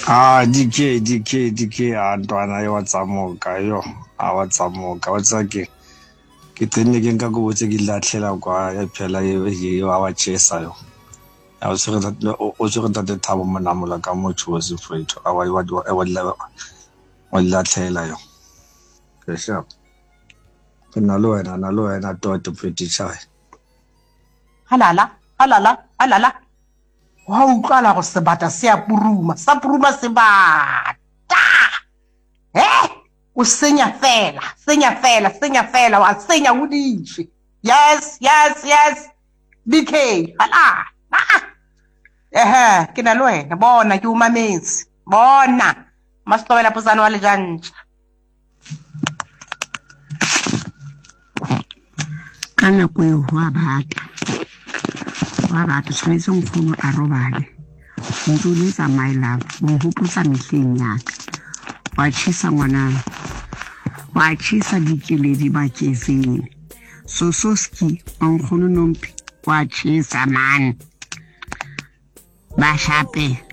Ah, DK, DK, DK, a ntwana yo wa tsamoka yo, a wa tsamoka, wa tseba ke ke tenne ke nka kobo tse ke di latlhela kwa ya phela e wa wa chesa yo. A o tshwere o tshwere ntate Thabo Monamola ka motho wa sefetho a wa wa wa wa di latlhela yo. Ke sharp. Ke na le wena, na le wena tote pretty chai. Halala, halala, halala. Gwa utlwala go sebata se a puruma, sa puruma sebata. He, o senya fela, senya fela, senya fela, wa senya o dišwe. Yes, yes, yes. DK, halala. Ehe, ke na le wena, bona ke o mametse. Bona, Mastobela Potsane wa Lejantša. Ka nako eo go a bata, go a bata tshwanetse nkgono a robale ntse o letsa my love o nkgopotsa mehleng ya ka wa tjhesa ngwanana wa tjhesa dikeledi bakezeng sososki wa nkgono nompi wa tjhesa man ba shape.